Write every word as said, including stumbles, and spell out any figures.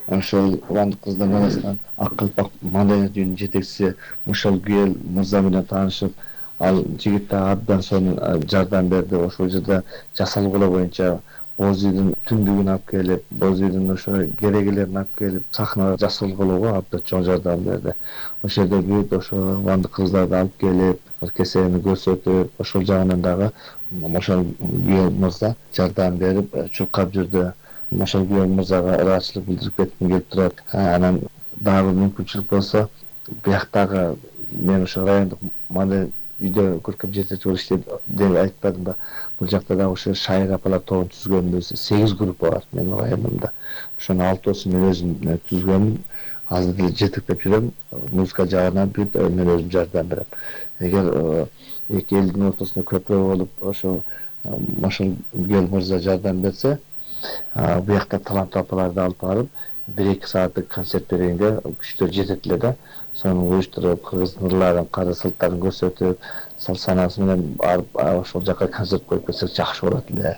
ошол Убандык кыздар арасынан Ак калпак маданият үйүнүн жетекчиси Мушалгүл мырза менен таанышып, ал жигит да абдан сонун жардам берди. Ошол жерде жасалгылоо боюнча боз үйдүн түндүгүн алып келип, боз үйдүн ошо керегелерин алып келип, сахнага жасалгылоого абдан чоң жардам берди. Ошол жерде бүт ошо Убандык кыздарды алып келип, кесени көрсөтүп, ошол жагынан дагы Мошалгүл мырза жардам берип, чуркап жүрдү. Мошалгүл мырзага ыраазычылык билдирип кетким келип турат. Анан дагы мүмкүнчүлүк болсо, бияктагы мен ошо райондук маданият үйдө көркөм жетекчи болуп иштейт деп айтпадым ба? Бул жакта дагы ошо шайыр апалар тобун түзгөнбүз. сегиз группа бар менин районумда. Ошонун алтоосун мен өзүм түзгөнмүн. Азыр деле жетектеп жүрөм. Музыка жагынан бүт мен өзүм жардам берем. Эгер эки элдин ортосунда көпүрө болуп, ошо Мошалгүл мырза жардам берсе, буякта таланттуу апаларды алып барып, бир эки сааттык концерт бергенге күчтөр жетет эле да. Сону уюштуруп, кыргыздын ырларын, кара салттарын көрсөтүп, сал санаасы менен барып ошол жака концерт коюп кетсек жакшы болот эле.